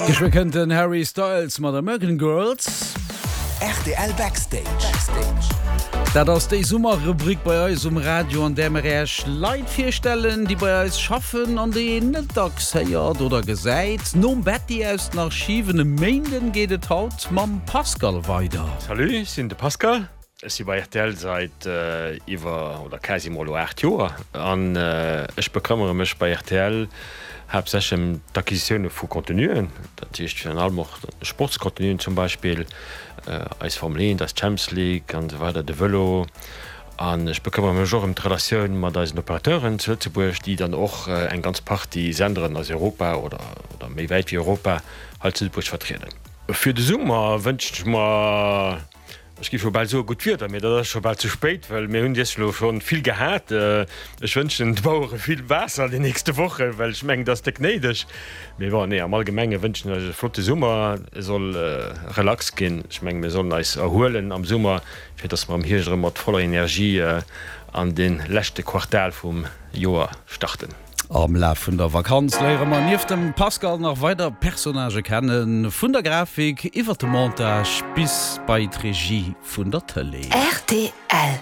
Geschwë kënnt den Harry Styles mat American Girls. Rtl Backstage. Dat ass déi Summerrubrik bei eis um Radio, an där mer Iech Leit virstellen, déi bei eis schaffen an déi een net dacks héiert oder gesäit. Nom Betty aus den Archiven e Méinden geet et haut mam Pascal weider. Salut, ech sinn de Pascal. Ech si bei rtl seit iwwer oder quasiment elo 8 Joer an ech bekëmmere mech bei rtl haaptsächlech ëm d'Acquisitioune vu Contenuen, dat heescht virun allem och Sportscontenuen zum Beispill, eis Formel 1, eis Champions League an esou weider, de Vëlo. An ech bekëmmere mech och ëm d'Relatioun mat eisen Operateuren zu Lëtzebuerg, déi dann och eng ganz Partie Senderen aus Europa oder méi wäit wéi Europa hei zu Lëtzebuerg vertrieden. Fir de Summer wënschen ech mer Ech géif jo bal soe gutt Wieder, mee dat ass scho bal ze spéit, well mir hunn iech elo scho vill gehat. Ech wënschen de Bauere vill Waasser an den nächste Wochen, well ech mengen, dat ass déck néideg. Mee bon, nee, am Allgemenge wënschen ech eis e flotte Summer. E soll relax ginn. Ech mengen, mir sollen eis erhuelen am Summer, fir dass mer am Hierscht erëm mat voller Energie an dee leschte Quartal vum Joer starten. Am Laf vun der Vakanz léiere mer nieft dem Pascal nach weider Personnagë kennen, vun der Grafik iwwer de Montage bis bei d'Regie vun der Tëlee. Rtl.